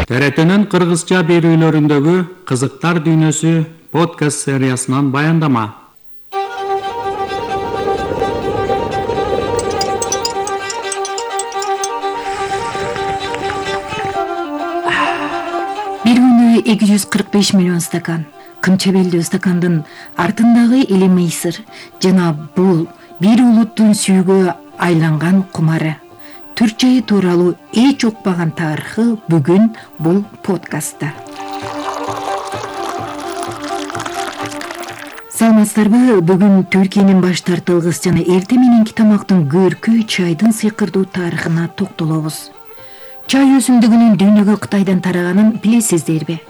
ТРТнын кыргызча берүүлөрүндөгү кызыктар дүйнөсү подкаст сериясынан баяндама. Бир күнү 245 миллион стакан. Кымча белдүү стакандын артындагы эли мыйсыр жана бул бир улуттун сүйгө айланган кумары. Түрк чайы тууралуу эч укпаган тарыхы бүгүн бул подкастта. Саламатсыздарбы? Бүгүн Түркиянын баш тартылгыс жана эрте мененки тамактын көркү чайдын сыйкырдуу тарыхына токтолобуз. Чай өсүмдүгүнүн дүйнөгө Кытайдан тараганын билесиздерби?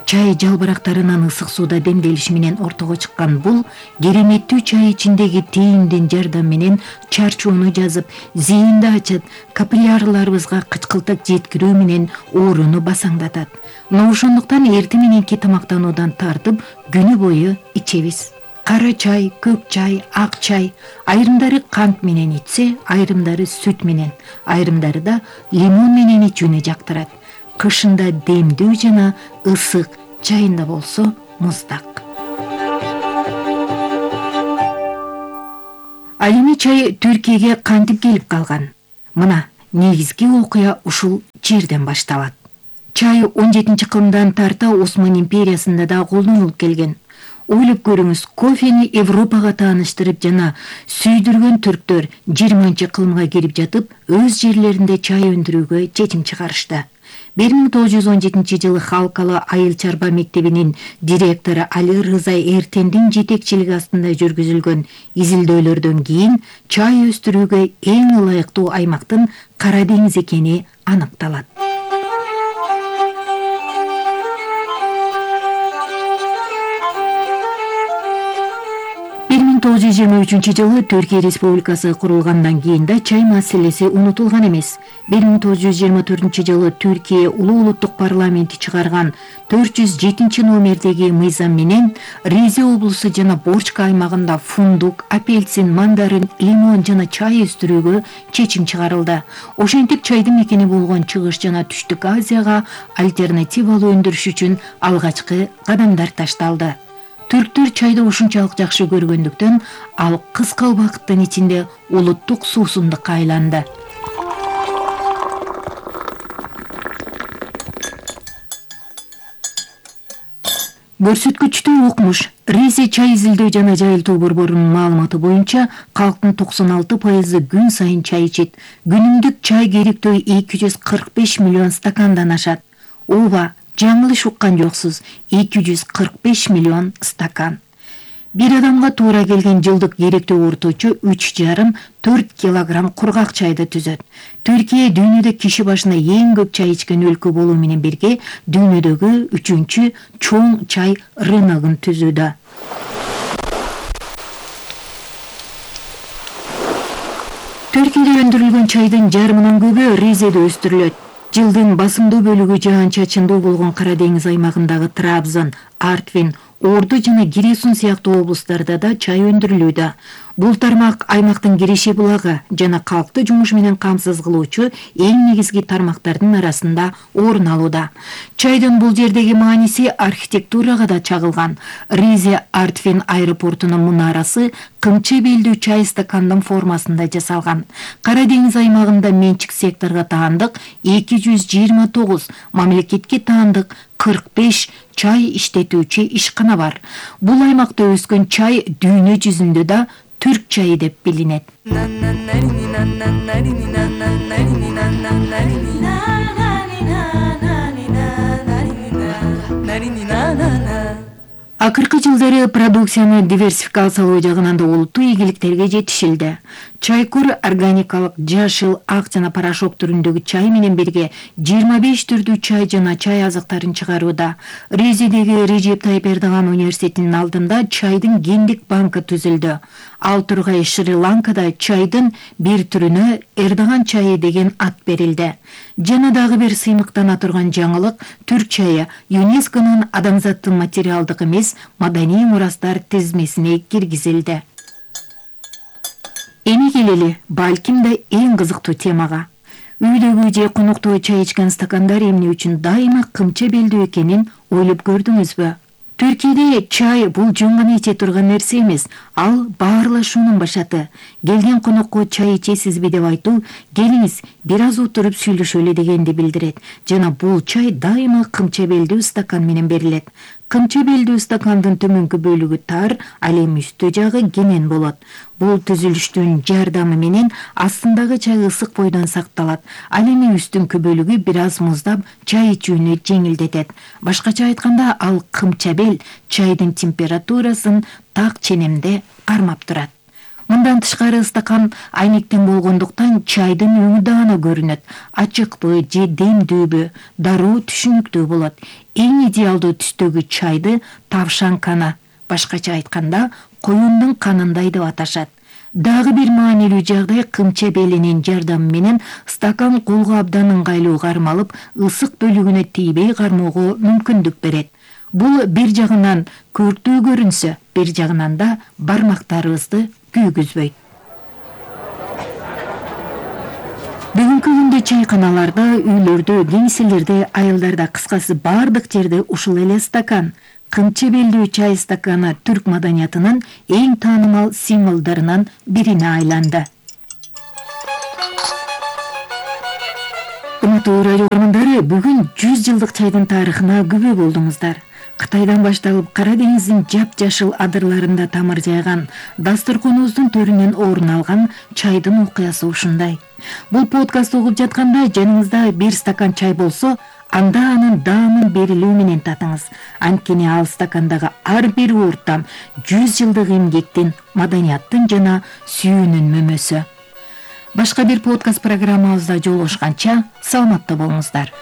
Чай жалбырактарынан ысык сууда демделиши менен ортого чыккан бул кереметтүү чай ичиндеги тээндин жардамы менен чарчоону жазып, зээнди ачат, капиллярларыбызга кычкылтык жеткирүү менен ооруну басаңдатат. Мына ошондуктан эрте мененки тамактануудан тартып күнү бою ичебиз. Кара чай, көк чай, ак чай. Айрымдары кант менен ичсе, айрымдары сүт менен, айрымдары да лимон менен ичүүнү жактырат. Кышында демдүү жана ысык, чайында болсо муздак. Ал эми чай Түркияга кантип келип калган? Мына негизги окуя ушул жерден башталат. Чай 17-кылымдан тарта Осман империясында да колдонулуп келген. Ойлоп көрүңүз, кофени Европага тааныштырып жана сүйдүргөн түрктөр 20-кылымга кирип жатып, өз жерлеринде чай өндүрүүгө чечим чыгарышты. 1917 жылы Халкалуу айыл чарба мектебинин директору Али Рыза Эртендин жетекчилиги астында жүргүзүлгөн изилдөөлөрдөн кийин чай өстүрүүгө эң ылайыктуу аймактын Кара деңиз экени аныкталат. Жылы Түркия Республикасы курулгандан кийин да чай маселеси унутулган эмес. 1924 жылы Түркия улуу улуттук парламенти чыгарган 407 номердеги мыйзам менен Ризе облусу жана Борчка аймагында фундук, апельсин, мандарин, лимон жана чай өстүрүүгө чечим чыгарылды. Ошентип чайдын мекени болгон Чыгыш жана Түштүк Азияга альтернативалуу өндүрүш үчүн алгачкы кадамдар ташталды. Түрктөр чайды ушунчалык жакшы көргөндүктөн ал кыска убакыттын ичинде улуттук суусундукка айланды. Көрсөткүчтүү укмуш. Ризе чай изилдөө жана жайылтуу борборунун маалыматы боюнча калктын 96% күн сайын чай ичет. Күнүмдүк чай керектөө 245 миллион стакандан ашат. Ооба, жаңылыш уккан жоксуз, 245 миллион стакан. Бир адамга туура келген жылдык керектөө орточо 3,5-4 килограмм кургак чайды түзөт. Түркия дүйнөдө киши башына эң көп чай ичкен өлкө болуу менен бирге дүйнөдөгү 3-чү чоң чай рыногун түзүүдө. Түркияда өндүрүлгөн чайдын жарымынан көбү Ризеде өстүрүлөт. Жылдын басымдуу бөлүгү жаан-чачындуу болгон Кара деңиз аймагындагы Трабзон, Артвин, Орду жана Гиресун сыяктуу облустарда да чай өндүрүлүүдө. Бул тармак аймактын киреше булагы жана калкты жумуш менен камсыз кылуучу эң негизги тармактардын арасында орун алууда. Чайдын бул жердеги мааниси архитектурага да чагылган. Ризе Артвин аэропортунун мунарасы кымча белдүү чай стакандын формасында жасалган. Кара деңиз аймагында менчик секторго таандык 229, мамлекетке таандык 45 чай иштетүүчү ишкана бар. Бул аймакта өскөн чай дүйнө жүзүндө да түрк чайы деп билинет. Акыркы жылдары продукцияны диверсификациялоо жагынан да олуттуу ийгиликтерге жетишилди. Чайкур органикалык жашыл, ак жана порошок түрүндөгү чай менен бирге 25 түрдүү чай жана чай азыктарын чыгарууда. Ризедеги Режеп Тайып Эрдоган университетинин алдында чайдын гендик банкы түзүлдү. Ал тургай Шри-Ланкада чайдын бир түрүнө Эрдоган чайы деген ат берилди. Жана дагы бир сыймыктана турган жаңылык, түрк чайы ЮНЕСКОнун адамзаттын материалдык эмес маданий мурастар тизмесине киргизилди. Эми келели, балким да эң кызыктуу темага. Үйдөгү же конокто чай ичкен стакандар эмне үчүн дайыма кымча белдүү экенин ойлоп көрдүңүзбү? Түркияда чай бул жөн гана иче турган нерсе эмес, ал баарлашуунун башаты. Келген конокко чай ичесизби деп айтуу, келиңиз бир аз отуруп сүйлөшөлү дегенди билдирет. Жана бул чай дайыма кымча белдүү стакан менен берилет. Кымча белдүү стакандын төмөнкү бөлүгү тар, ал эми үстү жагы кенен болот. Бул түзүлүштүн жардамы менен астындагы чай ысык бойдон сакталат. Ал эми үстүнкү бөлүгү бир аз муздап, чай ичүүнү жеңилдетет. Башкача айтканда, ал кымча бел чайдын температурасын так ченемде кармап турат. Мындан тышкары стакан айнектен болгондуктан чайдын өңү даана көрүнөт. Ачыкпы же демдүүбү, дароо түшүнүктүү болот. Эң идеалдуу түстөгү чайды тавшан кана, башкача айтканда, коюндун канындай деп аташат. Дагы бир маанилүү жагдай кымча белинин жардамы менен стакан колго абдан ыңгайлуу кармалып, ысык бөлүгүнө тийбей кармоого мүмкүндүк берет. Бул бир жагынан көрктүү көрүнсө, бир жагынан да бармактарыбызды күйгүзбөйт. Бүгүнкү күндө чайканаларда, үйлөрдө, кеңселерде, айылдарда, кыскасы бардык жерде ушул эле стакан. Кымча белдүү чай стаканы түрк маданиятынын эң таанымал символдорунан бирине айланды. Урматтуу радио көрөрмөндөрү, бүгүн 100 жылдык чайдын тарыхына күбө болдуңуздар. Кытайдан башталып Кара деңиздин жапжашыл адырларында тамыр жайган, дасторконубуздун төрүнөн орун алган чайдын окуясы ушундай. Бул подкастты угуп жатканда жаныңызда бир стакан чай болсо, анда анын даамын берилүү менен татыңыз. Анткени ал стакандагы ар бир ууртам 100 жылдык эмгектин, маданияттын жана сүйүүнүн мөмөсү. Башка бир подкаст программабызда жолугушканча саламатта болуңуздар.